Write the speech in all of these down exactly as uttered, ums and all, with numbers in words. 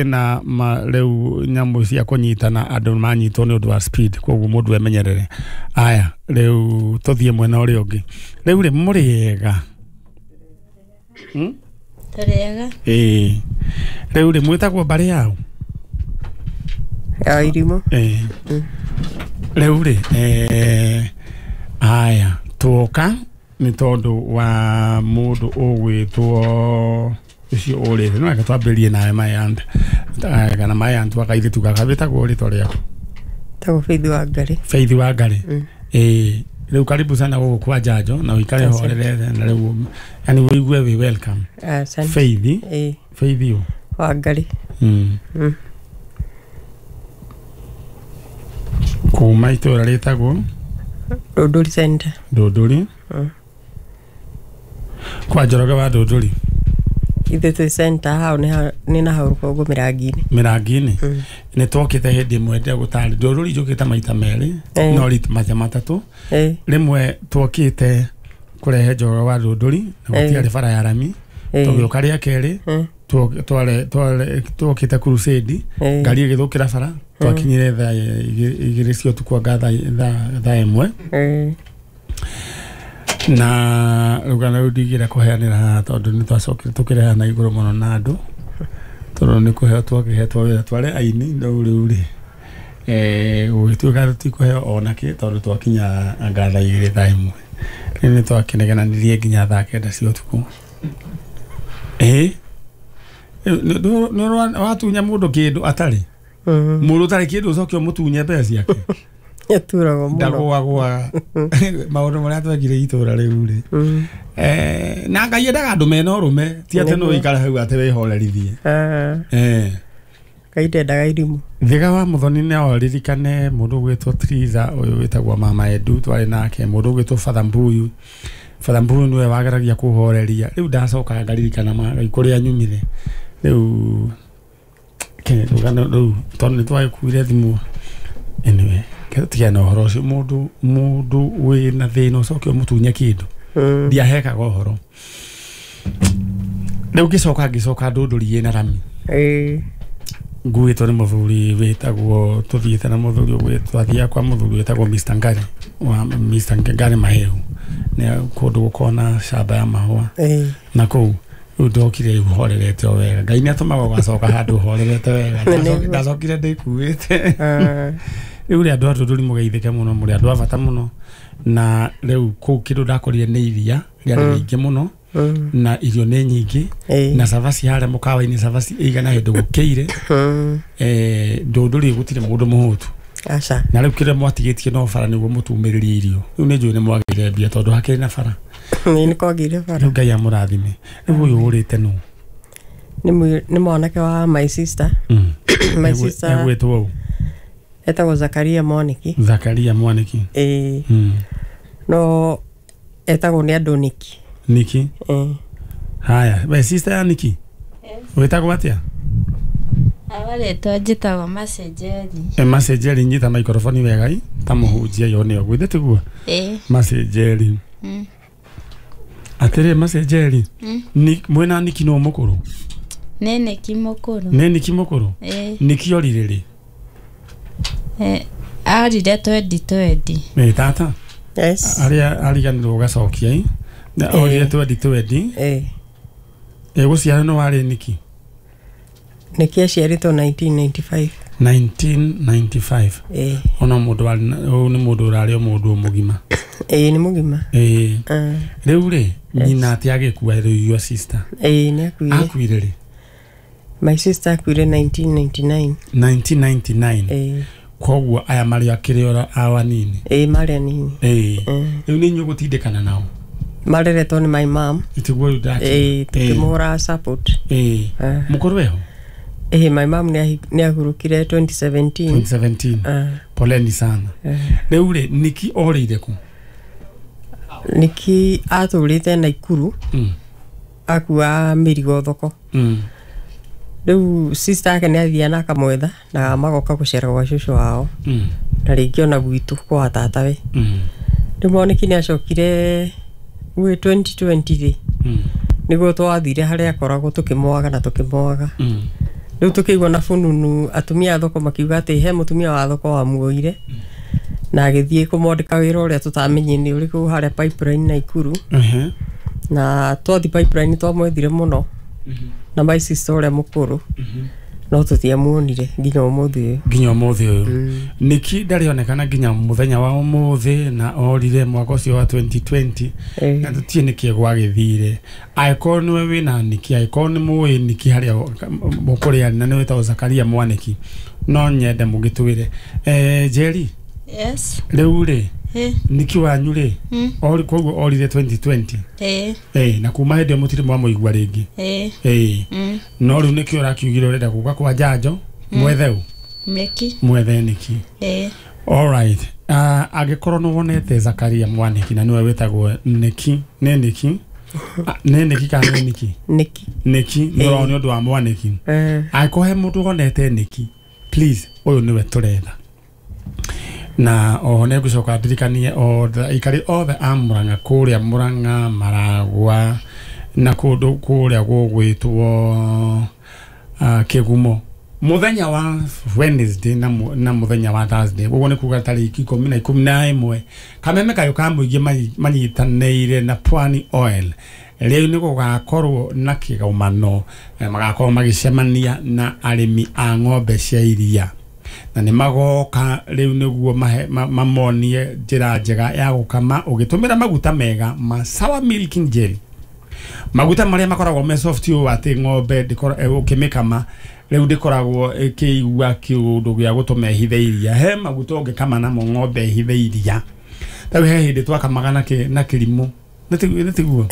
Na ma rĩu nyamũ cia kũnyitana andũ manyitwo nĩ ũndũ wa speed, koguo mũndũ emenyerere. Aya, rĩu tũthiĩ mwena ũrĩa ũngĩ. Rĩu rĩ, mũrĩega? Hmm? Tũrĩega. Ĩĩ, rĩu rĩ, mwĩtagwo mbarĩ yao? Ya irimũ. Ĩĩ, rĩu rĩ, eh, aya tuoka nĩ tondũ wa mũndũ ũgwĩtwo ũcio ũrĩte. No reke twambĩrĩrie nawe, my aunt, kana my aunt wa kairĩtu gaka. Wĩtagwo rĩtwa rĩaku? Tagwo Faith wa Ngarĩ. Faith wa Ngarĩ. Mm. Ĩĩ, rĩu karibu sana gũkũ kwa Njanjo na ũikare Asante. horerete na rĩu yani ũigue wĩ welcome. Asante. Faith. Ĩĩ. Faith ũ? Wa Ngarĩ. Mm. Mm. Kuma itũra rĩtagwo? Rũndũri Center. Ndũndũri. Mm. Kwa Njoroge wa Ndũndũri? Ithuĩ twĩ center hau nĩ ha- nĩ na hau rũgongo mĩrangi-inĩ. Mĩrangi-inĩ. Mm. Nĩ twokĩte hĩndĩ ĩmwe ndegũtarĩ Ndũrũri, njũkĩte maita merĩ. Eh. No rit maita matatũ. Ĩĩ. Rĩmwe twokĩte kũrehe Njoroge wa Ndũndũri na Eh. gũtiarĩ bara ya rami. Ĩĩ. Tũgĩũka rĩa kerĩ, Mm. two- tware- tware- twokĩte crusade, Ĩĩ. ngari ĩgĩthũkĩra bara. Twakinyire thaa igĩ- igĩrĩ cia ũtukũ, anga thaa thaa- thaa ĩmwe. Ĩĩ. Na rũgano rũu ndingĩenda kũheanĩra haha tondũ nĩ twacokire tũkĩreha na igũrũ mũno na andũ, tondũ nĩ kũheo twakĩhetwo wĩra tware aini. Rĩu rĩu rĩ, eh, gũgĩtuĩka tũtikũheo ona kĩ, tondũ twakinya anga thaa igĩrĩ, thaa ĩmwe. Rĩu nĩ twakĩnegenanirie nginya thaa kenda cia ũtukũ. Ĩĩ, nĩ watunya mũndũ kĩndũ atarĩ, Mm. mũndũ ũtarĩ kĩndũ, ũcoke ũmũtunye mbeca ciake. Ĩturagwo mũno. Ndagũagũaga maũndũ marĩa twekire itũra rĩu rĩ. Mm. Eh, na Ngai endaga andũ mena ũrũme, ti atĩ no Nĩguo. ũikare hau atĩ wĩhorerithie. Ah, Eh. Ngai ndendaga irimũ. Thiga wa Muthoni no ririkane mũndũ ũgwĩtwo Triza, ũyũ wĩtagwo Mama Edu, twarĩ nake, mũndũ ũgwĩtwo Father Mbuyu. Father Mbuyu nĩwe wageragia kũhoreria. Rĩu ndacoka ngaririkana ma kũrĩa nyumire. Rĩu ke rũgano rũu, tondũ nĩ twagĩkuire thimũ. Anyway, tigana na ũhoro ũcio. Mũndũ mũndũ wĩna thĩna ũcoke ũmũtunye kĩndũ. Mm. Ndiahekaga ũhoro. Rĩu ngĩcoka ngĩcoka Ndũndũri ĩna rami. Ĩĩ. Nguĩtwo nĩ mũthuri wĩtagwo, tũthiĩte na mũthuri ũgwĩtwo, twathiaga kwa mũthuri wĩtagwo Mister Ngari wa Mister Ngari Mahehu, nĩ kũndũ gũkoragwo na camba ya mahũa. Ĩĩ. Na kũu rĩu ndokire rĩu horerete o wega. Ngai nĩ atũmaga ũgacoka handũ horerete wega. Nĩguo. Ndacokire ndĩkuĩte. Ah, Rĩu rĩ, andũ a Ndũndũri, mũgeithĩke mũno, mũrĩ andũ a bata mũno. Na rĩu kũu kĩndũ ndakorire nĩ iria rĩarĩ Mm. rĩingĩ mũno, mm. na irio nĩ nyingĩ, Ĩĩ. na cabaci harĩa mũkawa-inĩ, cabaci ĩigana hĩndĩ gũkĩire. Mm. eh, Ndũndũri gũtirĩ mũndũ mũhũtu. Aca. Na rĩu kĩrĩa mwatigĩtie no bara nĩguo mũtumĩrĩrie irio. Rĩu nĩ njũĩ nĩ mwagĩire mbia tondũ hakĩrĩ na bara. Ĩĩ, nĩ kwagĩire bara. Rĩu Ngai amũrathime. Rĩu ũyũ ũrĩte nũ? Nĩ mwĩ- nĩ mwanake wa my sister. Mm. My Egwe- sister egwĩtwo ũ? Etagwo Zakaria Mwaniki. Zakaria Mwaniki. Ĩĩ. Mm. No etagwo nĩ andũ Niki. Niki. Ĩĩ. Haya, we sister ya Niki wĩtagwo atĩa? Awa rĩtwa njĩtagwo Macenjeri. E, Macenjeri, nyita maikoroboni wega i ta mũhunjia yone ũguo, ithe tiguo? Ĩĩ. Macenjeri. Mm. Atĩrĩ, Macenjeri, Mm. Ni- mwĩna Niki nũ mũkũrũ? Nĩ Niki mũkũrũ. Nĩ Niki mũkũrũ? Ĩĩ. Niki orire rĩ? Eh, arire twendi twendi. Ĩ tata. Yes. Arĩa ariganĩrwo ũgacokia i Na orire twendi twendi. Ĩĩ. Ĩgũciara nĩ warĩ Niki? Niki aciarĩtwo nineteen ninety-five. nineteen ninety-five. Ĩĩ. Ona mũndũ warĩ na- ũyũ nĩ mũndũ ũrarĩ o mũndũ mũgima. Ĩĩ, nĩ mũgima. Ĩĩ. Ah, Rĩu rĩ, nyina atĩ agĩkua rĩu, your sister? Ĩĩ, nĩ akuire. Akuire rĩ? My sister akuire nineteen ninety-nine. nineteen ninety-nine. Ĩĩ. Koguo aya marĩ akĩrĩ ora awa nini. Ĩĩ, marĩ anini. Ĩĩ. Mm. Rĩu nĩ inyuĩ gũtindĩkana nao? Mareretwo nĩ my mom. Tiguo rĩu ndakĩra. Ĩĩ, tũkĩmũhũraga support. Ĩĩ. Ah. Mũkũrũ eho? Ĩĩ, my mom nĩ ahi- nĩ ahurũkire twenty seventeen. twenty seventeen. Ah, Poleni sana. eh. Rĩu rĩ, Niki orĩire kũ? Niki atũrĩte Naikuru. Mm. Akua mĩrigo thoko. Mm. Rĩu sister yake nĩ athiaga na akamwetha na magoka gũcera gwa cũcũ wao, Mm. na rĩngĩ ona gwitũ kwa tatawe. Mm. Rĩu Mwaniki nĩ acokire gwĩ twenty twenty rĩ, Mm. nĩguo twathire harĩa akoragwo tũkĩmwaga na tũkĩmwaga. Mm. Rĩu tũkĩigua na fununu atumia a thoko makiuga atĩ he mũtumia wa thoko wamuoire na agĩthiĩ kũmwandĩka wĩra ũrĩa tũtamenye nĩ ũrĩkũ harĩa Pipeline Naikuru. Ehe. Na twathiĩ Pipeline twamwethire mũno na my sister ũrĩa mũkũrũ, no tũtiamuonire nginya ũmũthĩ ũyũ. Nginya ũmũthĩ ũyũ Niki ndarĩonekana nginya mũthenya wa ũmũthĩ, na orire mwaka ũcio wa twenty twenty. Eh. Na tũtiĩ nĩkĩ gwagĩthire. Angĩkorwo nĩwe wĩna Niki, angĩkorwo nĩ mũĩ Niki harĩa mũkũrĩa, na nĩ wĩtagwo Zakaria Mwaniki, no nyende mũgĩtwĩre. Eh, Njeri. Yes. Rĩu rĩ, Eh. Niki wanyu rĩ, Mm. ori koguo orire twenty twenty. Eh. Eh, na kuma hĩndĩ ĩyo mũtirĩ mwamũigua rĩngĩ. Eh. Eh. Mm. No rĩu nĩkĩo ũrakiugire ũrenda gũka kwa njanjo mwethe ũ? Meki. Mwethe Niki. Eh. Alright. Uh, angĩkorwo nĩ wonete Zakaria Mwaniki na nĩwe wĩtagwo Niki, nĩ Niki? Ah, nĩ Niki kana nĩ Niki? Niki. Niki, nĩ ũrona nĩ ũndũ wa Mwaniki. Eh. Angĩkorwo he mũndũ wonete Niki, please, ũyũ nĩwe tũretha. Na oho nĩ ngũcoka ndirikanie othe aikari othe a Murang'a kũrĩa Murang'a, Maragwa na kũndũ kũrĩa gũgwĩtwo uh, Kĩgumo, mũthenya wa Wednesday na, mu, na mũthenya wa Thursday, ũguo nĩ kuga tarĩki ikũmi na ikũmi na ĩmwe, kameme kayũ ka mũingĩ manyitanĩire na Pwani Oil rĩu nĩ gũgakorwo na kĩgomano, magakorwo magĩcemania na arĩmi a ng'ombe cia iria, na nĩ magoka rĩu nĩguo mamonie njĩra njega ya gũkama ũgĩtũmĩra maguta mega ma Sour Milking Jelly, maguta marĩa makoragwo me soft ũũ atĩ ng'ombe ũkĩmĩkama rĩu ndĩkoragwo ĩkĩigua kĩũndũ gĩa gũtũma ĩhithe iria. He maguta ũngĩkama namo ng'ombe ĩhithe iria. Rĩu he hĩndĩ twakamaga na kĩrimũ, nĩ tiguo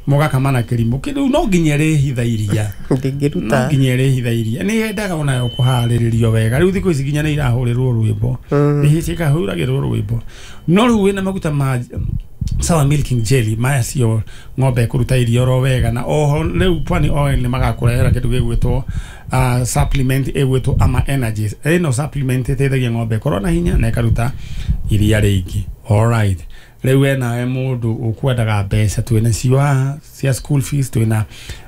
mũgakama na kĩrimũ kĩrĩu no nginya ĩrĩhitha iria, ndĩngĩruta, no nginya ĩrĩhitha iria. Nĩ yendaga onayo kũharĩrĩrio wega. Rĩu thikũ ici nginya nĩ irahũrĩrwo rwĩmbo, nĩ cikahũragĩrwo rwĩmbo. No rĩu wĩna maguta ma Sour Milking Jelly maya cio ng'ombe ĩkũruta iria oro wega. Na oho rĩu Pwani Oil nĩ magakũrehera kĩndũ gĩgwĩtwo uh, supplement ĩgwĩtwo Ama Energies. Ĩno supplement ĩteithagia ng'ombe ĩkorwo na hinya na ĩkaruta iria rĩingĩ. Alright. Rĩu we nawe mũndũ ũkwendaga mbeca, twĩna cio haha cia school fees, twĩna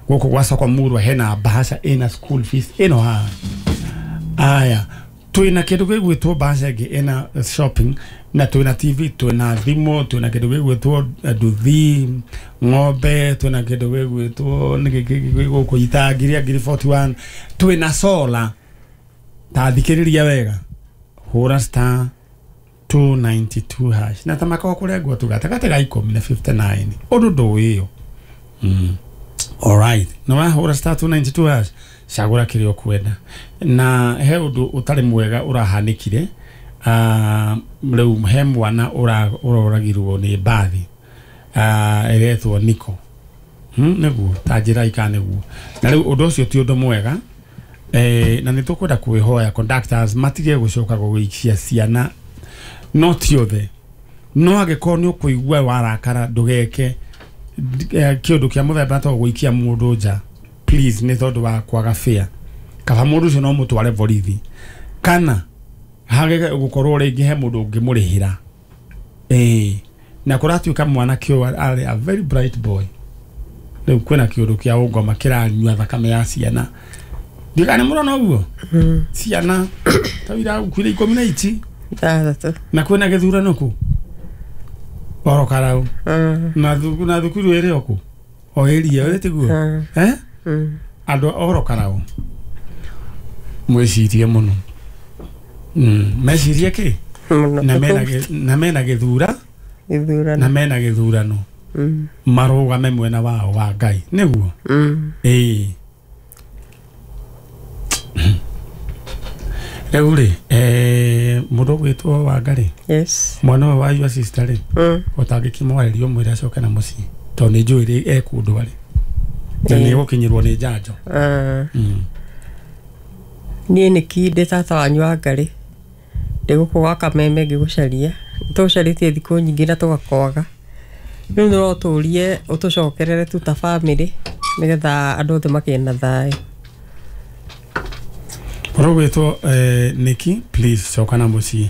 gũkũ gwa soko Murwa hena bahasha ĩna school fees ĩno haha. Aya, twĩna kĩndũ gĩgwĩtwo bahasha ĩngĩ ĩna shopping, na twĩna T V, twĩna thimũ, twĩna kĩndũ gĩgwĩtwo nduthi, ng'ombe, twĩna kĩndũ gĩgwĩtwo nĩkĩ gũkũ itangiria ngiri forty one, twĩna solar. Ta thikĩrĩria wega, hũra star two ninety two hash na tamaka kũrengwo tu gatagatĩ ga ikũmi na fifty nine ũndũ ndũĩ ĩyo. Mm. Alright, na wahũra star two ninety two hash, cagũra kĩrĩa ũkwenda. Na he ũndũ ũtarĩ mwega ũrahanĩkire, uh, rĩu he mwana ũroragirwo nĩ mbathi uh, ĩretwo Niko. Hmm, nĩguo ta njĩra ika nĩguo. Na rĩu ũndũ ũcio ti ũndũ mwega. Eh, na nĩ tũkwenda kwĩhoya conductors matige gũcoka gũgĩikia ciana, no ti othe. No angĩkorwo nĩ ũkũigua warakara ndũgeke kĩũndũ kĩa mũthemba ta gũikia mũndũ nja, please, nĩ tondũ wa kwaga fare. Kaba mũndũ ũcio no mũtware borithi, kana hage gũkorwo rĩngĩ he mũndũ ũngĩmũrĩhĩra. Eh, na kũratuĩka mwanake ũyũ arĩ a very bright boy. Rĩu kwĩna kĩũndũ kĩa ũngoma kĩranyua thakame ya ciana. Ndigane mũrona ũguo ciana ta irakuire ikũmi na ici ithathatũ, na kwĩna gĩthurano kũ oro karau na na thukuru ĩrĩ o kũ o ĩria ĩrĩ tiguo eh andũ oro karau mwĩcirie mũno. Mm, mecirie kĩ na mena na mena gĩthura gĩthurano na mena gĩthurano marũgame mwena wao wa Ngai nĩguo. Ĩĩ rĩu rĩ, eh, mũndũ ũgwĩtwo Wangari, yes, mwana ũyũ wa your sister rĩ, ũtangĩkĩmwarĩria ũmwĩre acoke na mũciĩ tondũ nĩ njũĩ rĩ e kũndũ arĩ na nĩ egũkinyĩrwo nĩ njanjo. Niĩ nĩki ndĩ tata wanyu Wangari, ndĩ gũkũ gwa Kameme ngĩgũcaria, tũgũcarĩtie thikũ nyingĩ na tũgakwaga. Rĩu no tũrie ũtũcokerere tu ta bamĩrĩ nĩgetha andũ othe makĩe na thayũ. Ũrũgwĩtwo Niki, please coka na mũciĩ.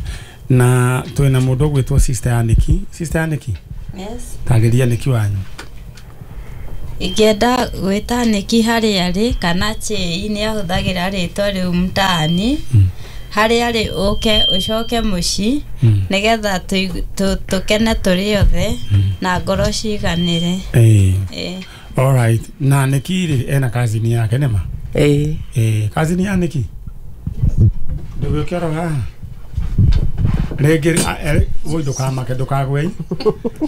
Na twĩna mũndũ ũgwĩtwo sister ya Niki. Sister ya Niki? Yes. Tarĩria Niki wanyu. Ingĩenda gwĩta Nĩki harĩa arĩ kana Chei nĩ ahũthagĩra rĩtwa rĩu mtaani harĩa arĩ ũke ũcoke mũciĩ nĩgetha tũigu- tũ- tũkene tũrĩ othe na ngoro ciganĩre. Eh. Ĩĩ. All right. Na Nĩki rĩ ena cousin yake nĩma? Ĩĩ. Eh, cousin ya Nĩki? Ndũgĩũke oro haha. Rĩngĩ a- e- woi ndũkamake ndũkagwe.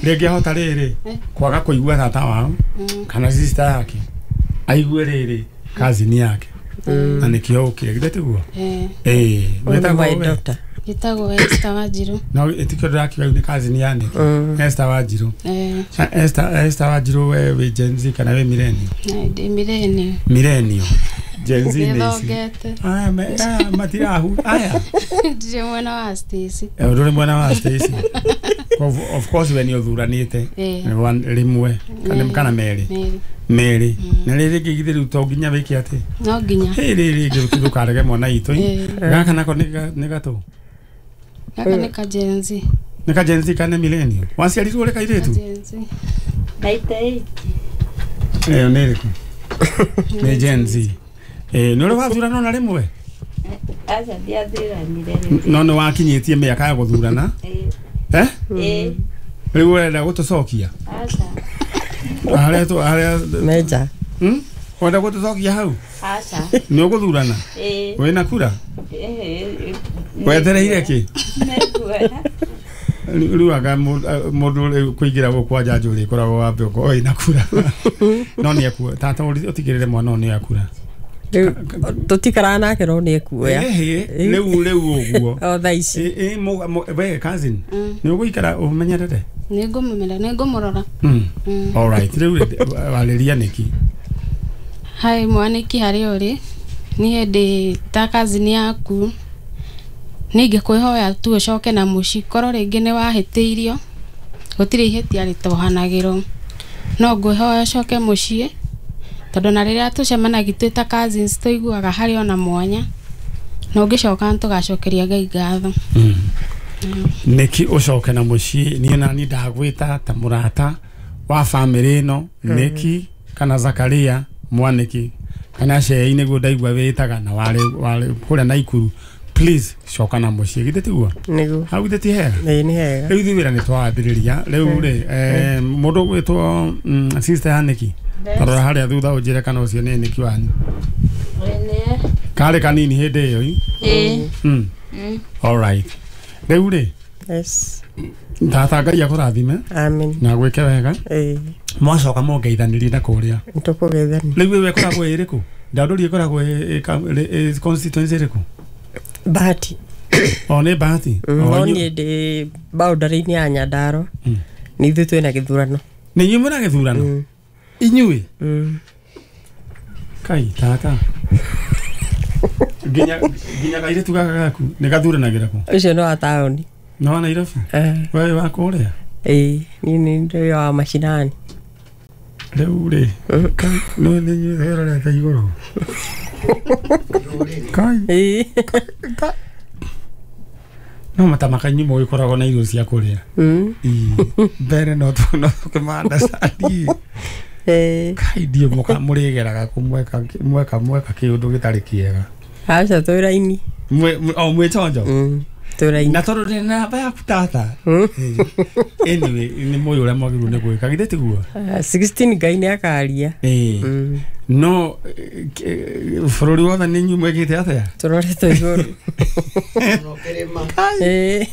Rĩngĩ ahota rĩrĩ kwaga kũigua tata wao kana sister yake aigue rĩrĩ cousin yake na nĩkĩo ũkire githĩ tiguo? Eh, Eh, Ũyũ nĩ wĩtagwo my we? daughter. njĩtagwo Esther Wanjirũ. No ĩtikĩo ndĩrakiuga rĩu nĩ cousin ya Nĩki. Mm. Esther Wanjirũ. Eh, Na Esther Esther Wanjirũ we wĩ Gen Z kana wĩ millennial? na ndĩ millennial. Millennial. Gen Z nĩ ici. Nĩthongete. Aya me- aya matirahu aya. Ndirĩ mwena wa Stacy. Eh, ndũrĩ mwena wa Stacy. Of, of course we nĩ ũthuranĩte Eh. One- rĩmwe kana Mm. kana merĩ Merĩ. merĩ na rĩrĩ rĩngĩ githĩ rĩu to nginya wĩke atĩ No nginya. hĩ rĩrĩ rĩngĩ ndũkarege mwana itũ Eh. gaka nako nĩ ga- nĩ gatũ Gaka nĩ ka Gen Z. nĩ ka Gen Z kana millennial waciarirwo ũrĩ Ka kairĩtu Gen Z. Ninety eight. ĩyo nĩ ĩrĩkũ nĩ Gen Z eh nĩ ũrĩ wathurana ona rĩmwe Aca ndiathuranire rĩu. no nĩ wakinyĩtie mĩaka ya gũthurana Ĩĩ. eh Ĩĩ. rĩu ũrenda gũtũcokia Aca. harĩa tũ harĩa Meja. Hmm? Ũrenda gũtũcokia hau Aca. nĩ ũgũthurana Ĩĩ. wĩna kura Ĩĩ. wetereire kĩ Nĩnguoya. rĩu anga mũndũ rĩu kũingĩra gũkũ kwa njanjo rĩ koragwo wambe ũkorwo wĩna kura no nĩ ekuoya tata ũtigĩrĩre mwana ũyũ nĩ akura Rĩu tũtikaraga nake no nĩ ekuoya. Ĩhĩ, rĩu rĩu ũguo O thaa ici. Ĩ- ĩ, mũ- mũ- we cousin Mm. nĩ ũgũikara ũmenyerere Nĩngũmũmenya, nĩngũmũrora. Mm. Mm. All right rĩu rĩ, warĩria nĩki Hai mwanĩki harĩa ũrĩ niĩ ndĩ ta cousin yaku nĩ ingĩkwĩhoya tu ũcoke na mũciĩ korwo rĩngĩ nĩ wahĩtĩirio gũtirĩ ihĩtia rĩtohanagĩrwo no ngwĩhoya ũcoke mũciĩ tondũ na rĩrĩa tũcemanagia twĩ ta cousins tũiguaga harĩ ona mwanya na ũngĩcoka nĩtũgacokeria Ngai ngatho. Nĩki ũcoke na mũciĩ niĩ nani ndagwĩta ta mũrata wa bamĩrĩ ĩno Nĩki kana Zakaria mwanĩki kana Cei nĩguo ndaigua wĩtaga na warĩ warĩ kũrĩa Naikuru please coka na mũciĩ githĩ tiguo Nĩguo. hau githĩ ti hega Ĩĩ nĩ hega. rĩu ithuĩ wĩra nĩ twawambĩrĩria rĩu rĩ eh, mũndũ ũgwĩtwo mm, sister ya Nĩki tarora harĩa thutha ũnjĩre kana ũcio nĩ Nĩki wanyu Ĩĩ. karĩ kanini hĩndĩ ĩyo i? Ĩĩ. Mm. Mm. All right rĩu rĩ Yes. tata Ngai akũrathime Amen. na gwĩke wega Ĩĩ. mwacoka mũngeithanĩrie na kũrĩa Nĩtũkũgeithania. rĩu ĩyo ĩkoragwo ĩ ĩrĩkũ ndandũri ĩkoragwo ĩ- ĩ- ka- ĩ- ĩ- constituency ĩrĩkũ Bahati. o nĩ bahati Mm, O No inyuĩ- niĩ ndĩ boundary-inĩ ya Nyandarua. Mm. Nĩ ithuĩ twĩna gĩthurano. nĩ inyuĩ mwĩna gĩthurano Mm. inyuĩ Mm. kai tata nginya nginya kairĩtu gaka gaku nĩ gathuranagĩra kũ Ũcio nĩ wa taũni. nĩ wa Nairobi Eh, we wa kũrĩa Ĩĩ, niĩ nĩ ndĩ wa macinani. rĩu rĩ nĩ nĩ inyuĩ wĩrorete igũrũ kai Ĩĩ. no matamaka inyuĩ mũgĩkoragwo na irio cia kũrĩa Mm. Ii, mbere no tũ- no tũkĩmanda cani Ĩĩ. kai ndiũ mũka mũrĩgeraga kũ mweka mweka mweka kĩũndũ gĩtarĩ kĩega Aca twĩ raini. Mwĩ- mwĩ- o mwĩ chonjo Mm. Twĩ raini. na tondũ ndĩ na namba yaku tata Mm. Eh, anyway nĩ mũĩ ũrĩa mwagĩrĩirwo nĩ gwĩka githĩ tiguo Ah, sixteen Ngai nĩ akaria. Ĩĩ. Mm. no eh, eh, bũrũri wothe nĩ inyuĩ mwĩkĩte atĩa Tũroretwo igũrũ. Ĩĩ.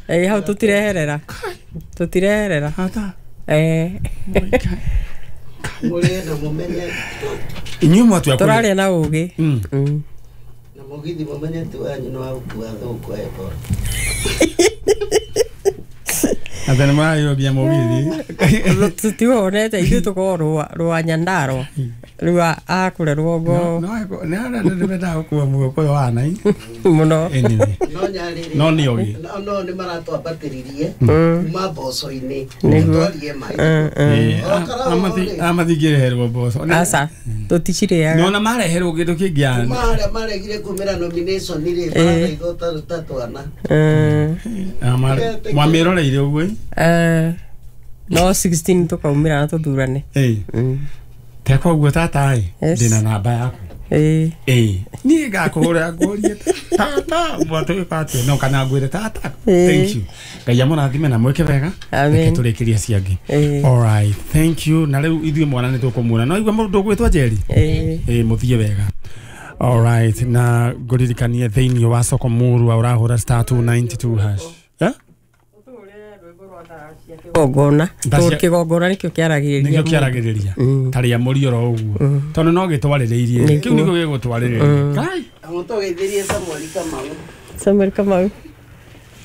Ĩĩ, hau tũtireherera. Tũtireherera. tata Eh. Mũrĩe na mũmenye inyuĩ mwatua kũrĩa Tũraria na ũgĩ. Mm. Mm. na mũgithi mũmenye ti wanyu nĩ wa gũkua thũkũ Ebola. atĩ nĩ mũrarĩrũgia mũgithi Tũtiwonete ithuĩ tũkoragwo rũa rũa Nyandarua. Rĩu a- akũrĩa rũgongo no nĩ arĩa nĩ mendaga gũkua mũgũkũyũ wa nai mũno. anyway No nyarĩrĩ no nĩ ogĩ no no nĩ maratwambatĩririe Mm. kuma mboco-inĩ Nĩguo. twarie maĩ Mm, mm. amathingĩreherwo mboco Aca tũticirĩaga. nona mareherwo kĩndũ kĩngĩ kuma yani harĩa maregire kumĩra nomination rĩ Eh. marathaithwo ta ta twana Mm. mwamĩroreire ũguo Eh, No sixteen tukaumira na tuthurane. Eh. Te koguo tata ĩ ndina namba yaku. Eh. Eh. Niĩ ngakũhũrĩra ngũrie tata mwatwĩka atĩa no kana ngwĩre tata. Thank you. Ngai amũrathime na mwĩke wega. Reke tũrĩkĩrie ciangĩ. All right. Thank you. Na rĩu ithuĩ mwana nĩ tũkũmuona. No igua mũndũ ũgwĩtwo Njeri. Eh. Eh, mũthiĩ wega. All right. Na ngũririkanie thĩinĩ wa soko mũrua ũrahũra star two ninety-two hash. Eh? Kigongona kigongona nikio kiaragiriria nikio kiaragiriria taria muri oro uguo tondu no gitwaririirie kiu nikio gigutwaririria kai amutogeithirie Samuel Kamau. Samuel Kamau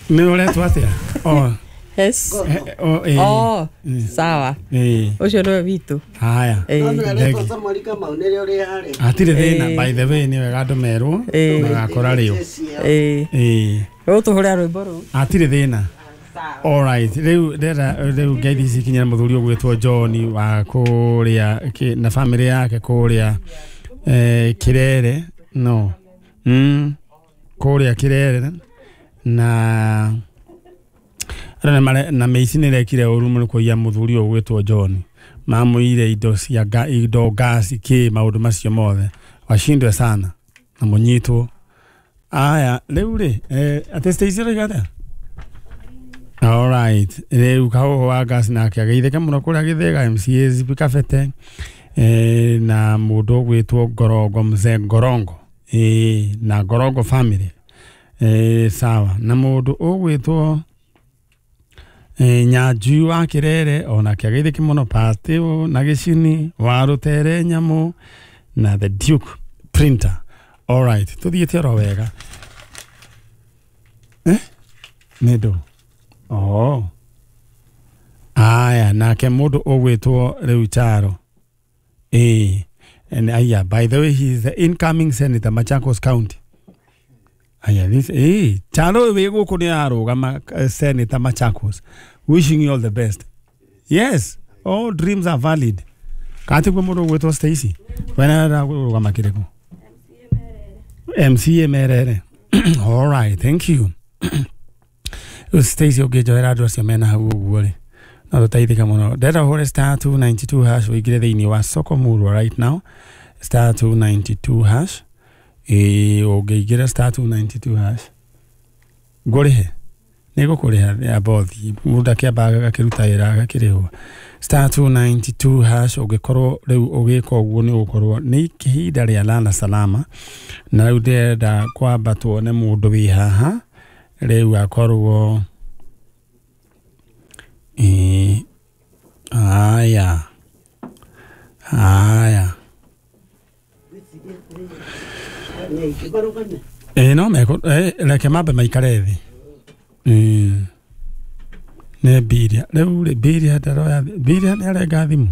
ni uretwo atia? Oh yes. Oh eh oh sawa eh ucio niwe witu. Haya no Samuel Kamau ni ri hari atire thina. By the way ni wega andu merwo magakora rio eh eh utuhure rwimbo ruu atire thina. All right, riu ndera riu ngeithi ici kinyira muthuri ugwitwo John wa kuria na family yake kuria eh Kirere no mm kuria Kirere na arana mare na meici ni rekire uru muno kuiya muthuri ugwitwo John mamuire indo cia indo gas ki maundu macio mothe washindwe sana na munyitwo. Aya riu ri eh ate Stacy ri gathea. All right. Rĩu kahoho wa gas nake ageithĩke mũno kũrĩa Gĩthĩga M C A Zipi Kabete eh, na mũndũ ũgwĩtwo Ngorongo mzee Ngorongo eh, na Ngorongo family eh, sawa na mũndũ ũgwĩtwo eh, Nyanjui wa Kirere onake ageithĩke mũno Patio na Gĩcini wa Rũtere Nyamũ na the Duke Printer. All right. Tũthiĩte oro wega eh nĩ Oh. Aya nake mundu ugwitwo riu Charo. Eh. And aya by the way he is the incoming senator Machakos County. Aya this eh Charo we guku ni arugama senator Machakos. Wishing you all the best. Yes, all dreams are valid. Kati kwa mundu ugwitwo Stacy. Wena arugama kireko. M C A Merere. All right, thank you. Stacy ũngĩnjoera andũ acio mena hau ũguo rĩ no tũteithĩke mũno. Ndĩrenda ũhũre star two ninety-two hash ũingĩre thĩinĩ wa soko murwa right now star two ninety-two hash. Ĩĩ ũngĩingĩra star two ninety-two hash ngũrĩhe nĩ ngũkũrĩha ya bothi mũndũ akĩamba agakĩruta wĩra agakĩrĩhwo star two ninety-two hash. Ũngĩkorwo rĩu ũgĩka ũguo nĩ ũgũkorwo nĩ ihinda rĩa lala salama na rĩu ndĩrenda kwamba tuone mũndũ wĩ haha rĩu akorwo eh aya aya eh no meko eh reke mambe maikare thĩ eh nĩ Biria rĩu rĩ Biria ndaroya Biria nĩ arenga thimũ.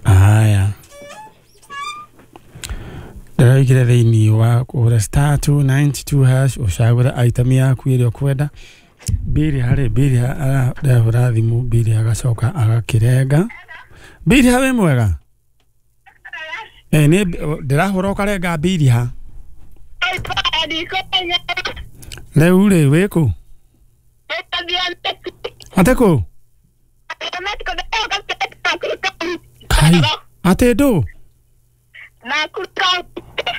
Aya ndĩraigire thĩinĩ wa kũhũra star two ninety-two hash ũcagũre item yaku ĩrĩa ũkwenda. Biria harĩ Biria arahũra thimũ Biria agacoka agakĩrenga. Biria wĩ mwega? Eh nĩ ndĩrahũra ũkarenga Biria. Rĩu rĩ wĩ kũ? Atĩ kũ? Kai atĩ ndũ?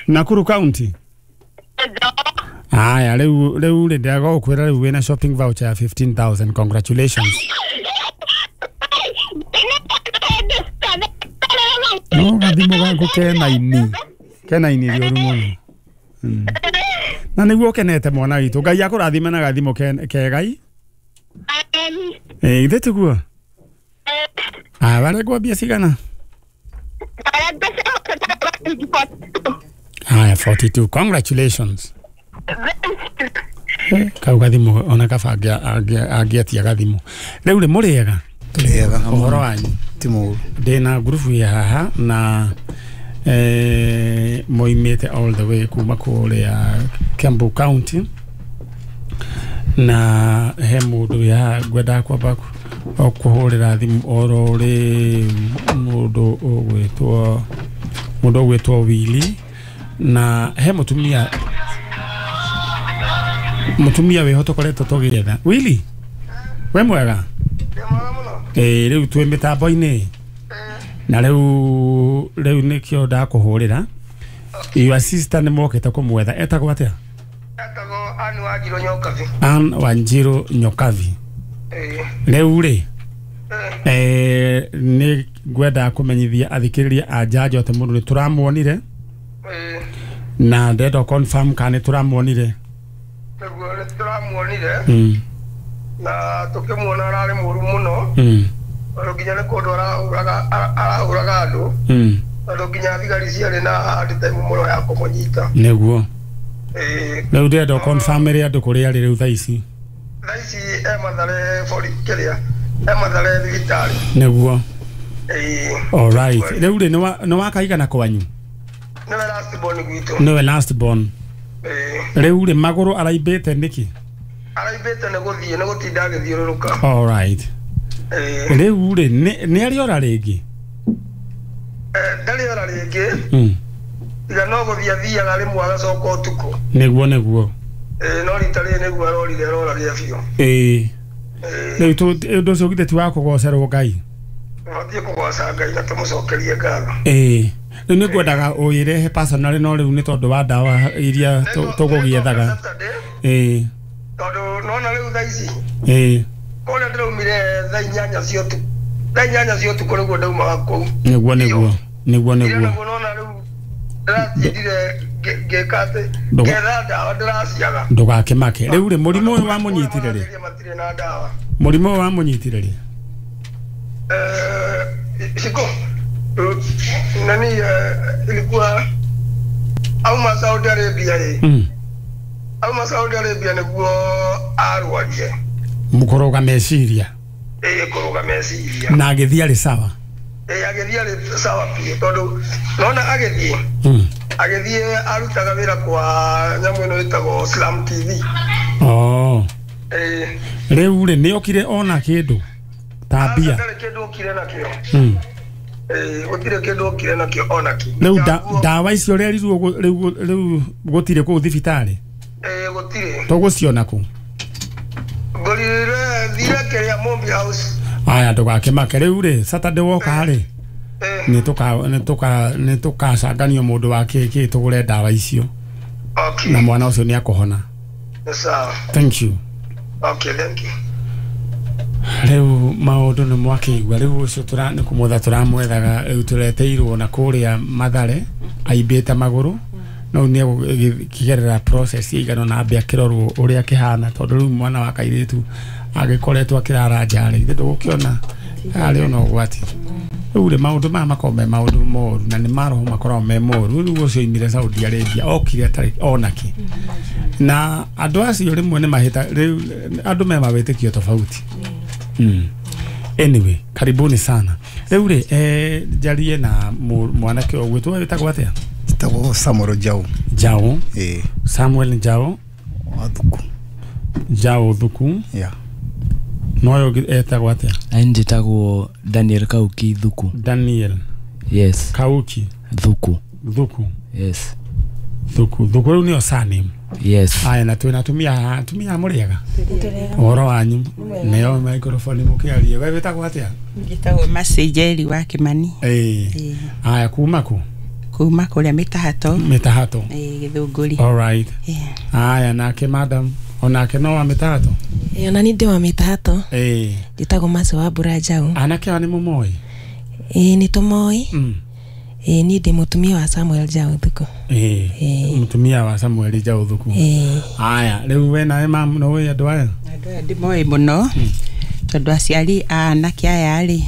Nakuru County. Aya rĩu rĩu rĩ ndĩragũkwĩra rĩu wĩna shopping voucher ya fifteen thousand. Congratulations. No gathimũ gaku kena ini kena ini rĩũru mũno. Na nĩguo ũkenete mwana witũ. Ngai akũrathime na gathimũ kegai. Eh githĩ tiguo? Aya warengwo mbia cigana? Aya forty-two. Congratulations. Kau gathimũ ona kaba angĩatia gathimũ. Rĩu rĩ mũrĩega? Tũrĩega. Ũhoro wanyu? Ti mũũru. Ndĩna ngurubu ya haha na eh moimĩte all the way kuma kũrĩa Kiambu County na he mũndũ wĩ haha ngwendaga kwamba kũhũrĩra thimũ oro rĩ mũndũ ũgwĩtwo mũndũ ũgwĩtwo Willy na he mũtumia mũtumia wĩho tũkoretwo tũgĩetha. Willy We mwega? Ĩĩ rĩu twĩ mĩtambo-inĩ na rĩu rĩu nĩkĩo ndakũhũrĩra. Your sister nĩ mokĩte kũmwetha. Etagwo atĩa? Etagwo Ann Wanjiru Nyokabi. Ann Wanjiru Nyokabi. Rĩu rĩ eh nĩ ngwenda kũmenyithia athikĩrĩria a Njanjo atĩ mũndũ nĩ tũramuonire na ndenda confirm kana nĩ tũramuonire. Nĩguo nĩ tũramuonire mm. na tũkĩmuona ararĩ mũru mũno mm. tondũ nginya nĩ kũndũ arahũraga arahũraga andũ mm. tondũ nginya thigari ciarĩ na hard time mũno ya kũmũnyita. Nĩguo ĩĩ rĩu ndĩrenda confirm ĩrĩa andũ kũrĩa arĩ rĩu thaa ici. Thaa ici e Mathare bori kĩrĩa e Mathare thibitarĩ. Nĩguo. Ĩĩ. All right. Rĩu rĩ nĩ wakaigana kwanyu? Nĩwe last born gwitũ. Nĩwe last born. Ĩĩ. Rĩu rĩ magũrũ araimbĩte nĩkĩ? Araimbĩte nĩ gũthiĩ nĩ gũtinda agĩthiũrũrũka. All right. Ĩĩ. Rĩu rĩ nĩ arĩ ora rĩngĩ? Eh ndarĩ ora rĩngĩ. Mm. Tiga no gũthiĩ athiaga rĩmwe agacoka ũtukũ. Nĩguo nĩguo. Ĩĩ no rita rĩrĩ nĩguo arorire arora biũ. Ĩĩ. Rĩu ũndũ ũcio githĩ ti wa kũgocerwo Ngai? Tũbatiĩ kũgoca Ngai na tũmũcokerie ngatho. Ĩĩ. Rĩu nĩ ngwendaga ũyĩrehe personally no rĩu nĩ tondũ wa ndawa iria tũgũgĩethaga. Ĩĩ. Tondũ nona rĩu thaa ici. Ĩĩ. Kũrĩa ndĩraumire thaa inyanya cia ũtukũ. Thaa inyanya cia ũtukũ nĩguo ndaumaga kũu. Nĩguo nĩguo. Nĩguo nĩguo. Nĩguo nona rĩu ndĩratindire ngĩka atĩ ngetha ndawa ndĩraciaga. Ndũgakĩmake. Rĩu rĩ mũrimũ ũyũ wamũnyitire rĩ? Matirĩ na ndawa. Mũrimũ ũyũ wamũnyitire rĩ? Eh, siko nani ilikuwa auma Saudi Arabia ĩ. Mm. Auma Saudi Arabia nĩguo arwarire. Mũkũrũga meciria. Ĩĩ kũrũga meciria. Na agĩthiĩ arĩ sawa? Ĩĩ agĩthiĩ arĩ sawa biũ tondũ nona agĩthiĩ. Mm. Agĩthiĩ arutaga wĩra kwa nyamũ ĩno ĩtagwo Slam T V. Oh. Ĩĩ. Rĩu rĩ nĩ okire ona kĩndũ ta mbia? Ndarĩ kĩndũ okire nakĩo. Mm. Ĩĩ gũtirĩ kĩndũ okire nakĩo ona kĩ. Rĩu ndawa icio ũrerirwo rĩu rĩu gũtirĩ kũu thibitarĩ? Ĩĩ gũtirĩ. Tũgũciona kũ? Ngorire thire kĩrĩa Mombi House. Aya ndũgakĩmake. Rĩu rĩ Saturday woka rĩ nĩ tũka nĩ tũka nĩ tũkacanganio mũndũ wa kĩkĩ tũgũre ndawa icio. Okay. Na mwana ũcio nĩ akũhona. Sawa. Thank you. Okay, thank you. Rĩu maũndũ nĩ mwakĩigua. Rĩu ũcio tũra nĩ kũmwetha tũramwethaga rĩu tũreteirwo na kũrĩa Mathare aimbĩte magũrũ no nĩ egũkĩgerera process ĩigana na ambe akĩrorwo ũrĩa akĩhana tondũ rĩu mwana wa kairĩtu agĩkoretwo akĩrara nja rĩ ithe ndũgũkĩona arĩ ona ũgwati. Rĩu rĩ maũndũ maya makoragwo me maũndũ moru na nĩ maroho makoragwo me moru. Rĩu ũcio oimire Saudi Arabia okire atarĩ ona kĩ na andũ acio rĩmwe nĩ mahĩta rĩu andũ me mawĩtĩkio tofauti. Mm. Anyway, karibuni sana. Rĩu rĩ eh njarie na mwanake ũgwĩtwo wĩtagwo atĩa? Njĩtagwo Samuel Njau. Njau? Ĩĩ. Samuel Njau wa Thuku. Njau Thuku. Yeah. No ũyũ etagwo atĩa? Niĩ njĩtagwo Daniel Kauki Thuku. Daniel. Yes. Kauki Thuku. Thuku. Yes. Thuku. Thuku rĩu nĩyo surname. Yes. Aya na twĩna atumia atumia mũrĩega? Ũhoro wanyu? Nĩyo microphone mũkĩarie. We wĩtagwo atĩa? Njĩtagwo Mercy Njeri wa Kĩmani. Ĩĩ. Aya kuma kũ? Kuma kũrĩa Mĩtahato. Mĩtahato. Ĩĩ Gĩthũngũri. All right. Aya nake madam onake no wa Mĩtahato? Ĩĩ ona niĩ ndĩ wa Mĩtahato. Ĩĩ. Njĩtagwo Mercy wa Mbura Njau. Anake aya nĩ mũmoĩ? Ĩĩ nĩ tũmoĩ. Mm. Ĩĩ niĩ ndĩ mũtumia wa Samuel Njau Thuku. Ĩĩ. Mũtumia wa Samuel Njau Thuku. Ĩĩ. Aya rĩu we nawe mam no wĩ andũ aya? Andũ aya ndĩmoĩ mũno tondũ aciari a anake aya rĩ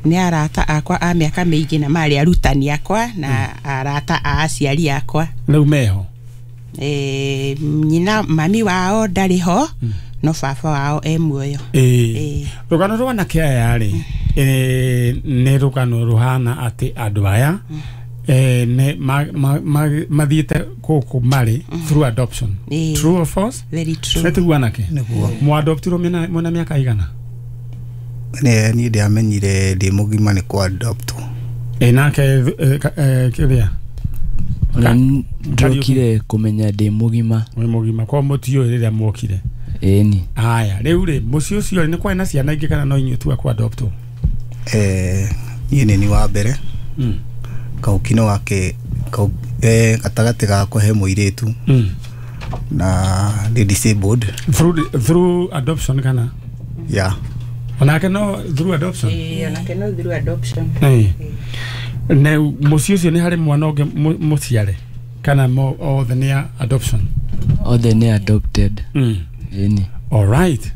nĩ arata akwa a mĩaka mĩingĩ na marĩ arutani akwa na arata a aciari akwa. Rĩu meho? Eh nyina mami wao ndarĩ ho no baba wao e muoyo. Ĩĩ. Rũgano rwa anake aya rĩ nĩ rũgano rũhana atĩ andũ aya eh ne mathiĩte gũkũ marĩ through adoption. True or false? Very true. Nĩ anake? Nĩguo. Mwadoptirwo mwĩna mĩaka igana? Nĩ niĩ ndiamenyire ndĩ mũgima nĩ kwa adopt. Ĩ nake kĩrĩa? Ona ndokire kũmenya ndĩ mũgima. Wĩ mũgima kwa mũtiũĩ rĩrĩa mwokire. Ĩni. Haya, rĩu rĩ mũciĩ ũcio rĩ nĩ kwarĩ na ciana ingĩ kana no inyuĩ tu a adopt? Eh, niĩ nĩ ni wa mbere. Mm. Kauki no wake kau eh gatagatĩ gakwa he mũirĩtu. Mm. Na nĩ disabled. Through through adoption kana? Yeah. Onake no through adoption? Ĩĩ, onake no through adoption. Eh. Ne mũciĩ ũcio nĩ harĩ mwana ũngĩ mũciare kana mo othe nĩ a adoption? Othe nĩ adopted. Mm. Ĩni. All right.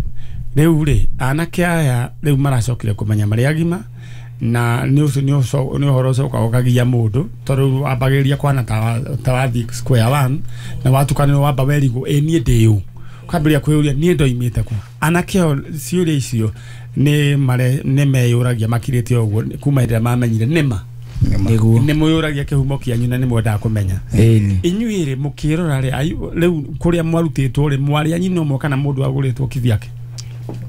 Rĩu rĩ anake aya rĩu maracokire kũmenya marĩ agima na nĩ ũcio nĩ nĩ ũhoro ũcoka ũkagia mũndũ tondũ wambagĩrĩria kwana ta wathiĩ square one na watukanĩrwo wamba werigwo ĩ niĩ ndĩ ũ, ũkambĩrĩria kwĩyũria niĩ ndoimĩte kũ. Anake o ciũria icio nĩ mare nĩ meyũragia makirĩte ũguo kuma hĩndĩ ĩrĩa mamenyire nĩma nĩguo nĩ mwĩyũragia kĩhumo kĩanyu na nĩ mwendaga kũmenya. Ĩni. Inyuĩ rĩ mũkĩrora rĩ rĩu kũrĩa mwarutĩtwo rĩ mwarĩ a nyina ũmwe kana mũndũ agũrĩtwo kivyake?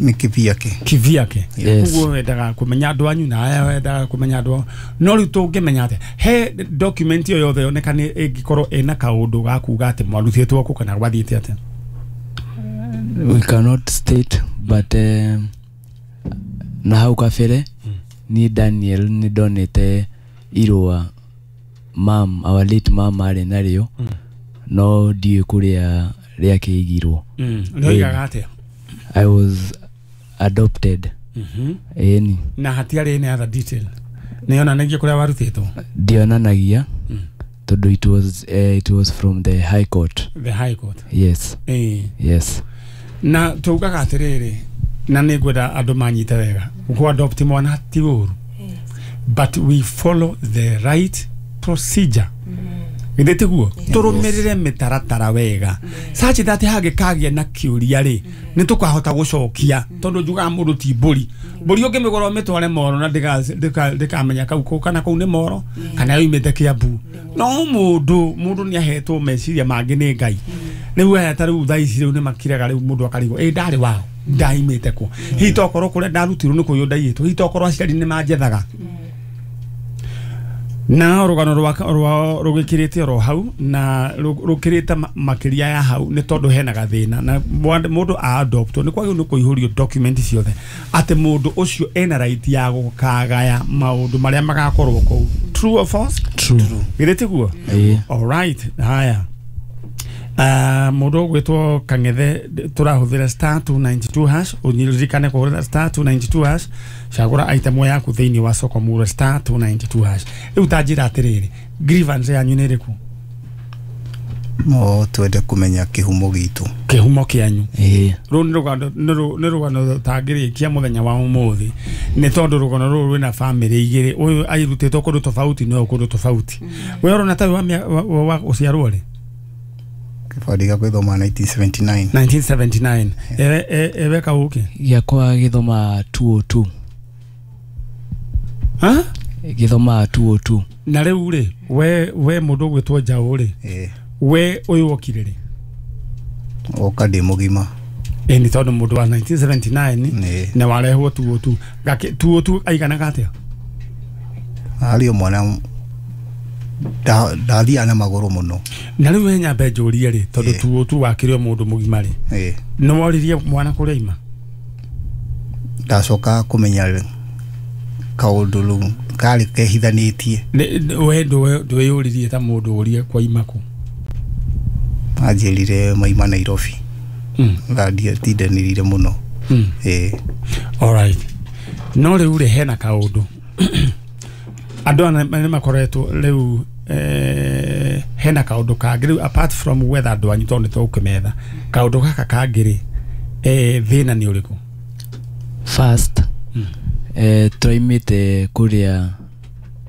Nĩ kivyake. Kivyake. Yes. Koguo wendaga kũmenya andũ anyu na aya wendaga kũmenya andũ ao. No rĩu tũngĩmenya atĩa he document ĩyo yothe yonekane ĩngĩkorwo ĩna kaũndũ ga kuga atĩ mwarutĩtwo kũ kana gwathiĩte atĩa? We cannot state but um, na hau kabere ni Daniel nĩ ndonete irũa mam our late mam arĩ narĩo mm. no ndiũĩ kũrĩa rĩakĩigirwo. Mm. Rĩoigaga atĩa? I was adopted. Mhm. Ĩni. Na hatiarĩ any other detail nĩ yonanagia kũrĩa warutĩtwo? Ndionanagia mm. tondũ it was uh, it was from the high court. The high court. Yes. Eh. Yes. Na tugaga atĩrĩrĩ na nĩ ngwenda andũ manyite wega gũ adopt mwana ti ũru but we follow the right procedure. Githĩ tiguo tũrũmĩrĩre mĩtaratara wega such that hangĩkagĩa na kĩũria rĩ nĩ tũkahota gũcokia tondũ njugaga mũndũ ti mbũri mbũri ũngĩmĩgũra ũmĩtware moro na ndĩkamenya kau kũ kana kũu nĩ moro kana yoimĩte Kĩambu no mũndũ mũndũ nĩ ahetwo meciria mangĩ nĩ Ngai rĩu aya ta rĩu thaa ici rĩu nĩ makiraga rĩu mũndũ akarigwo ĩ ndarĩ wao ndaimĩte kũ hihi tokorwo kũrĩa ndarutirwo nĩ kũiywo ndaiyĩtwo hihi tokorwo aciari nĩ manjethaga na rũgano rwao rũgĩkĩrĩte oro hau na rũkĩrĩte makĩria ya hau nĩ tondũ hena gathĩna na mũndũ a adopt nĩ kwagĩrĩirwo nĩ kũihũrio document ciothe atĩ mũndũ ũcio ena right ya gũkagaya maũndũ marĩa magakorwo kũu. True or false? True. Githĩ tiguo? All right. Haya. Uh, mũndũ ũgwĩtwo Kang'ethe tũrahũthĩra star two ninety-two hash ũririkane kũhũthĩra star two ninety-two hash cagũra item yaku thĩinĩ wa soko mura star two ninety-two hash. Rĩu ta njĩra atĩrĩrĩ grievance yanyu nĩ ĩrĩkũ? No twende kũmenya kĩhumo gitũ. Kĩhumo kĩanyu. Ĩĩ. Rũu nĩ rũgano nĩ rũgano tangĩrĩkia mũthenya wa ũmũthĩ nĩ tondũ rũgano rũrũ rwĩna bamĩrĩ igĩrĩ ũyũ airutĩtwo kũndũ tofauti na ũyũ kũndũ tofauti. We ũrona ta wa wa ũciarwo rĩ? Kĩbandĩ gĩakwa gĩthoma nineteen seventy-nine. nineteen seventy-nine. Ewe ewe kauke? Gĩakwa gĩthoma two oh two. Ha? Gĩthoma two oh two. Na rĩu rĩ we we mũndũ ũgwĩtwo Njaũ rĩ we ũyũ wokire rĩ? Oka ndĩ mũgima. Ĩ nĩ tondũ mũndũ wa nineteen seventy-nine na warehwo two oh two. Gake two oh two aiganaga atĩa? Arĩ o mwana ndathiaga na magũrũ mũno. Na rĩu he nyambe njũrie rĩ tondũ two oh two wakĩrĩ o mũndũ mũgima rĩ nĩ woririe mwana kũrĩa aima? Ndacoka kũmenya kaũndũ rĩu karĩ kehithanĩtie. We ndwĩyũririe ta mũndũ ũrie kwaima kũ? Anjĩrire maima Nairobi. Ndandiatindanĩrire mũno. Ĩĩ. All right. No rĩu rĩ hena kaũndũ andũ aya nĩ makoretwo rĩu eh, hena kaũndũ kangĩ rĩu apart from whether andũ anyu tondũ nĩ tũgũkĩmetha kaũndũ gaka kangĩ rĩ eh, thĩna nĩ ũrĩkũ? First mm. eh, tũraimĩte kũrĩa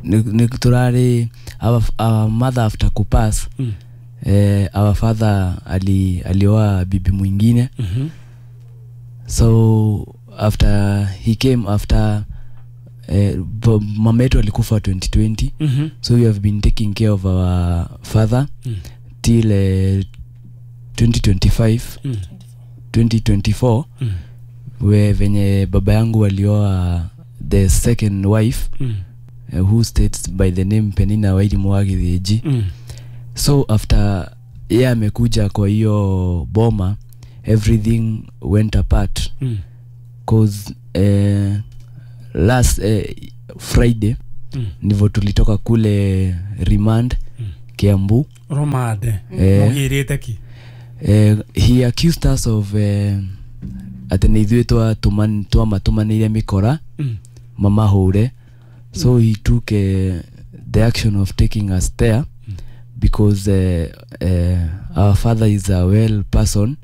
nĩ tũrarĩ our, our mother after kupass mm. eh, our father ali alioa bibi mwingine mm -hmm. So after he came after eh, mama yetu alikufa twenty twenty mm -hmm. So we have been taking care of our father mm. till eh, twenty twenty-five mm. twenty twenty-four mm. we venye baba yangu alioa the second wife mm. uh, who states by the name Penina Wairimu wa Githinji mm. So after yeye amekuja kwa hiyo boma everything went apart. Mm. Cause eh, last eh, Friday Mm. ndivyo tulitoka kule remand Mm. Kiambu. Romande Eh. mugirite ki? Eh, he accused us of eh, atĩ nĩ ithuĩ twatũman- twamatumanĩire mĩkora Mm. mamahũre. So he took eh, the action of taking us there because eh, eh, our father is a well person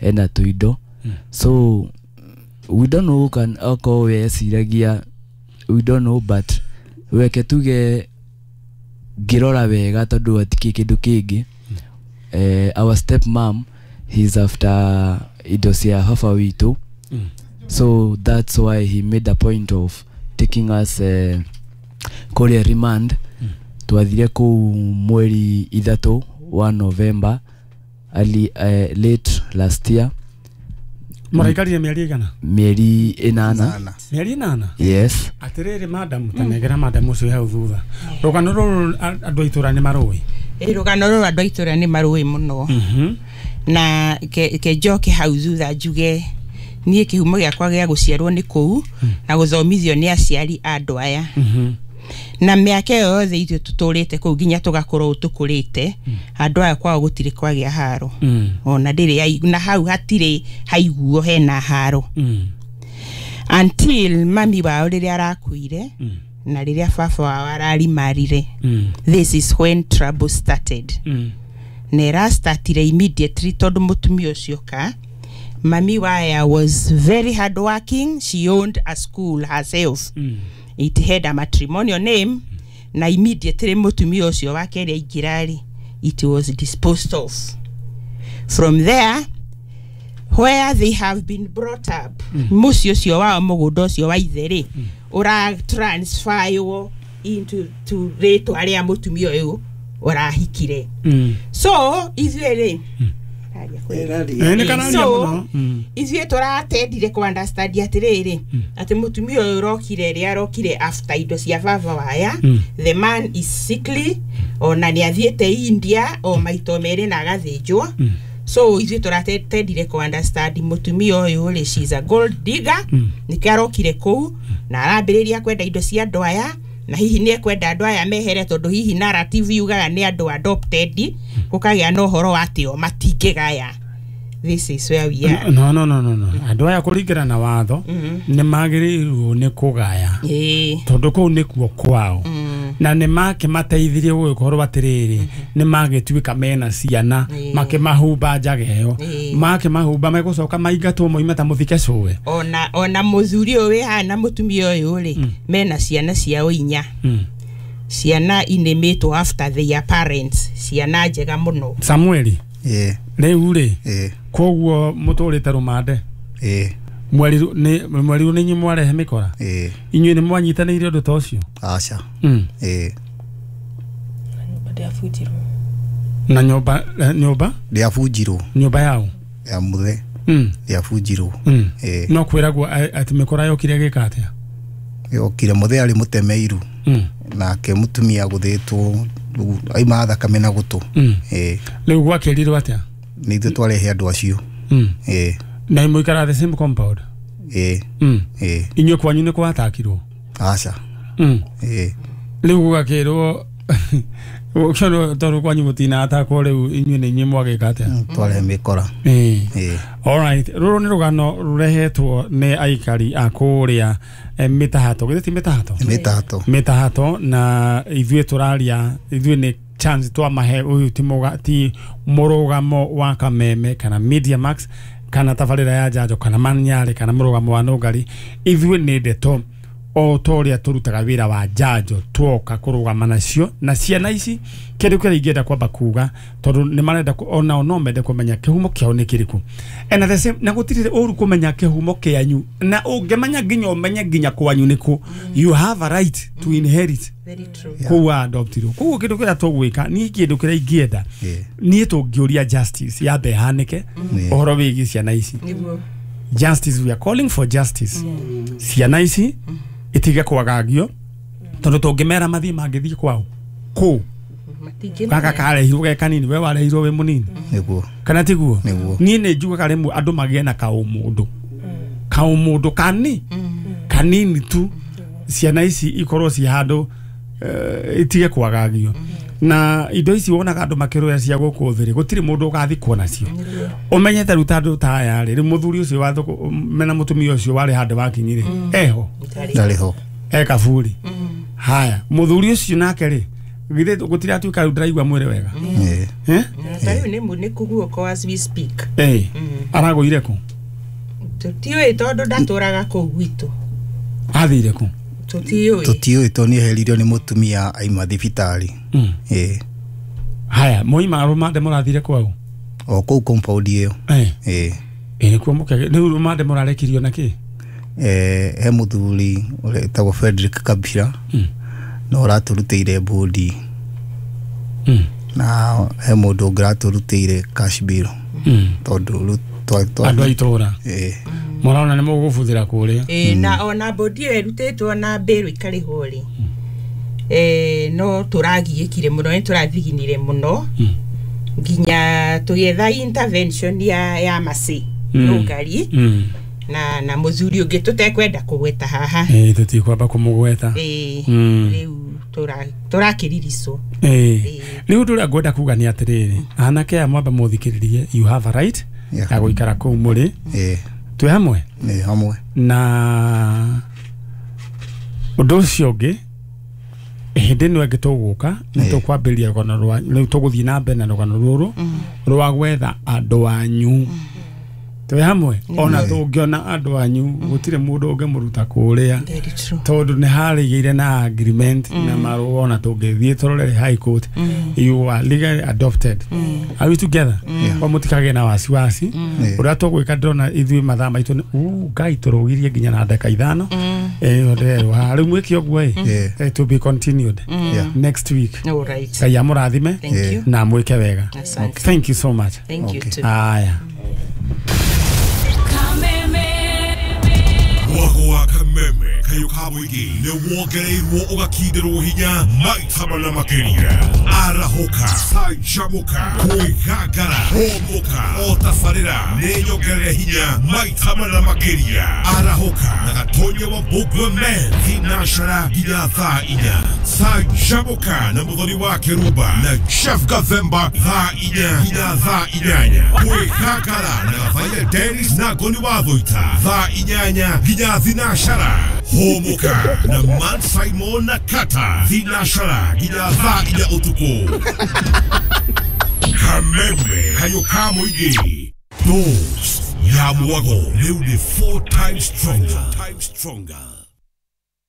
ena tũindo. So we don't know kan okorwo we eciragia, we don't know, but weke tuge ngĩrora wega tondũ hatikĩ kĩndũ kĩngĩ. Eh, our step mom, he's after indo cia baba witũ. Mm. So that's why he made a point of taking us eh, kũrĩa remand. Twathire kũu mweri ithatũ wa November early, eh, late last year. Mũraikarire mĩeri ĩigana? Mĩeri ĩnana. Mĩeri ĩnana? Yes. Atĩrĩrĩ madam, tanengera madam ũcio hau thutha. Rũgano rũrũ a- andũ a itũra nĩ marũĩ? Ĩ, rũgano rũrũ andũ a itũra nĩ marũĩ mũno. Mhm. Na ke, ke njoke hau thutha njuge niĩ kĩhumo gĩakwa gĩa gũciarwo nĩ kũu na gũthomithio nĩ aciari a andũ aya. Mhm. Na mĩaka ĩyo yothe ithuĩ tũtũrĩte kũu nginya tũgakorwo tũkũrĩte, andũ aya kwao gũtirĩ kwagĩa haro. Mm. Ona ndĩrĩ yai- na hau hatirĩ haiguo hena haro. Mm. Until mami wao rĩrĩa arakuire na rĩrĩa baba wao ararimarire. Mm. This is when trouble started. Mm. Na ĩrastatire immediately tondũ mũtumia ũcio ka mami waya was very hard working. She owned a school herself. Mm. It had a matrimonial name. Na immediately mũtumia ũcio wake rĩ aingĩra rĩ, it was disposed of. From there, where they have been brought up, mũciĩ ũcio wao mũgũnda ũcio wa ithe rĩ, ũra transferwo into to rĩtwa rĩa mũtumia ũyũ ũrahikire. Mm. So ithuĩ rĩ, Eh, nĩ kararia So, mũno. Mm. ithuĩ tũratendire kũ understand atĩrĩrĩ, atĩ mũtumia ũyũ ũrokire rĩ, arokire after indo cia baba waya. Mm. The man is sickly, ona nĩ athiĩte India o maito merĩ na agathĩnjwo. So ithuĩ tũratendire kũ understand mũtumia ũyũ rĩ, she's a gold digger. Nĩkĩo arokire kũu na arambĩrĩria kwenda indo cia andũ aya, na hihi nĩ ekwenda andũ aya mehere tondũ hihi narrative yugaga nĩ andũ adopted, gũkagĩa na ũhoro wa atĩ o matingĩgaya. This is where we are. No, no, no, no, no. Andũ aya kũringana na watho nĩ magĩrĩirwo nĩ kũgaya Ĩĩ. tondũ kũu nĩkuo kwao, na nĩ makĩmateithirie gũgĩkorwo atĩrĩrĩ nĩ magĩtuĩka mena ciana, makĩmahumba njaga ĩyo, makĩmahumba megũcoka maingatwo moime ta mũthike cũwe. Ona ona mũthuri ũyũ wĩ haha na mũtumia ũyũ rĩ, mena ciana ciao inya. Mm. Ciana inĩmĩtwo after their parents, ciana njega mũno. Samueli, Ĩĩ. rĩu rĩ, Ĩĩ. koguo mũtũrĩte rũmande? Ĩĩ. Mweri nĩ mweri nĩ inyuĩ mwarehe mĩkora? Ĩĩ. Inyuĩ nĩ mwanyitanĩire ũndũ ta ũcio? Aca. Mm. Ĩĩ. Na nyũmba, eh, nyũmba Ndĩabunjirwo. Nyũmba yao? Ya mũthe. Mm. Ndĩabunjirwo. Mm. Ĩĩ. No kwĩragwo a- atĩ mĩkora yokire ĩgĩka atĩa? Yokire mũthe arĩ mũtemeiru. Mm. Nake mũtumia gũthĩtwo aima thakame na gũtũ. Mm. Ĩĩ. Rĩu gwakĩrirwo atĩa? Nĩ ithuĩ twarehe andũ acio. Mm. Ĩĩ. Na mũikaraga the same compound? Ĩĩ. Mm. Ĩĩ. Inyuĩ kwanyu nĩ kwatakirwo? Aca. Mm. Ĩĩ. Rĩu gũgakĩrwo ũkĩona tondũ kwanyu mũtinatakwo rĩu inyuĩ nĩ inyuĩ mwagĩka atĩa? Twarehe mĩkora. Ĩĩ. Ĩĩ. Alright, rũrũ nĩ rũgano rũrehetwo nĩ aikari a kũrĩa eh, mĩtahato. Githĩ ti mĩtahato? Mĩtahato. Mĩtahato, na ithuĩ tũraria, ithuĩ nĩ chance twamahe ũyũ ti mũga, ti mũrũgamo wa Kameme kana Media Max kana tabarĩra ya Njanjo kana Manyarĩ kana mũrũgamo wa Nũngari. Ithuĩ nĩ ndeto o ta ũrĩa tũrutaga wĩra wa njanjo twoka kũrũgama nacio na ciana ici. Kĩndũ kĩrĩa ingĩenda kwamba kuga tondũ nĩ marenda onao no mende kũmenya kĩhumo kĩao nĩ kĩrĩkũ, and at the same na gũtirĩ ũru kũmenya kĩhumo kĩanyu, na ũngĩmenya nginya ũmenye nginya kwanyu nĩkũ, you have a right to inherit. Very true. Kũu adoptirwo. Koguo kĩndũ kĩrĩa tũgwĩka niĩ kĩndũ kĩrĩa ingĩenda niĩ tũngĩũria justice yambe ĩhanĩke ũhoro wĩgiĩ ciana ici. Justice, we are calling for justice. Ciana ici itige kwagagio tondũ tũngĩmera mathiĩ mangĩthiĩ kwao kũ Gaka karehirwo ge kanini we warehirwo we munini. Niguo. Kana tiguo? Niguo. Niĩ nĩ njugaga rĩmwe andũ magĩe na kaũmũndũ. Kaũmũndũ kani kanini tu ciana ici ikorwo ci handũ itige kwagagio. Na indo ici wonaga andũ makĩrũya cia gũkũ thĩ rĩ gũtirĩ mũndũ ũgathikwo nacio. Ũmenyete rĩu ta andũ ta aya rĩ rĩu mũthuri ũcio wa thũkũ mena mũtumia ũcio warĩ handũ wakinyire eho ndarĩ ho e kaburi. Haya mũthuri ũcio nake rĩ githĩ gũtirĩ atuĩka rĩu ndĩraigua mwĩrĩ wega. Eh? Ta rĩu nĩ nĩ kũguũka as we speak. Eh. Aragũire kũ? Tũtiũĩ tondũ ndatũraga kũu gwitũ. Athire kũ? Tũtiũĩ. Tũtiũĩ tondũ nĩeheririo nĩ mũtumia aima thibitarĩ. Ĩĩ. Haya moima rũmande mũrathire kwao? O kũu compound ĩyo. Eh. Ĩĩ. Ĩ nĩkuo mũkege rĩu rũmande mũrarekirio na kĩ? Eh he mũthuri ũretagwo Frederick Kabira. No ũratũrutĩire bodi. Na he mũndũ ũngĩ ũratũrutĩire cash bill. Tondũ rĩu andũ a itũra. Ĩĩ. Mũrona nĩ mũgũbuthĩra kũrĩa. Ĩĩ na ona bodi ĩyo ĩrutĩtwo na mbĩrũ ikarĩhwo rĩ. Eh no tũragiĩkire mũno nĩ tũrathiginire mũno. Nginya tũgĩetha intervention ya ya Masi Rũngari. Na na mũthuri ũngĩ tũtekwenda kũgweta haha. Ĩĩ tũtikwamba kũmũgweta. Ĩĩ rĩu tũrakĩriricwo. Ĩĩ rĩu ũndũ ũrĩa ngwenda kuga nĩ atĩrĩrĩ anake aya mwambe mũthikĩrĩrie you have a right ya gũikara kũu mũrĩ. Ĩĩ. Twĩ hamwe? Ĩĩ hamwe. Na ũndũ ũcio ũngĩ hĩndĩ ĩno ĩngĩ tũgũka nĩ tũkwambĩrĩria rũgano rwa rĩu tũgũthiĩ na mbere na rũgano rũrũ rwa gwetha andũ anyu. Twĩ hamwe? Ona tũngĩona andũ anyu gũtirĩ mũndũ ũngĩmũruta kũrĩa tondũ nĩ harĩgĩire na agreement na marũa ona tũngĩthiĩ tũrore high court you are legally adopted. Are we together? Kwa mũtikagĩe na wasiwasi ũrĩa tũgwĩka ndĩrona ithuĩ mathaa maitũ nĩ Ngai tũrũgirie nginya na ndagĩka ithano. Ĩyo ndĩrerwo haha rĩu mwĩke ũguo ĩ to be continued next week. All right. Ngai amũrathime na mwĩke wega. Thank you so much. Thank you too. Aya. Mwago kameme kayo kabwigi ne wongereirwo ũgakindirwo hinya maita mana makĩria arahũka canjamũka kwĩgangara hũmũka o tabarĩra nĩ nyongerere hinya maita mana makĩria arahũka na gatonye wa Bugwe Men thinacara nginya thaa inya canjamũka na mũthoni wa Kĩrumba na Chef Gathemba thaa inya nginya thaa inyanya kwĩgangara na Gathaia Dennis na Ngoni wa Thũita thaa inyanya nginya thinacara hũmũka na Man Simon na Kata thinacara nginya thaa inya ũtukũ. Kameme kayo ka mũingĩ dose ya mwago rĩu nĩ four times stronger.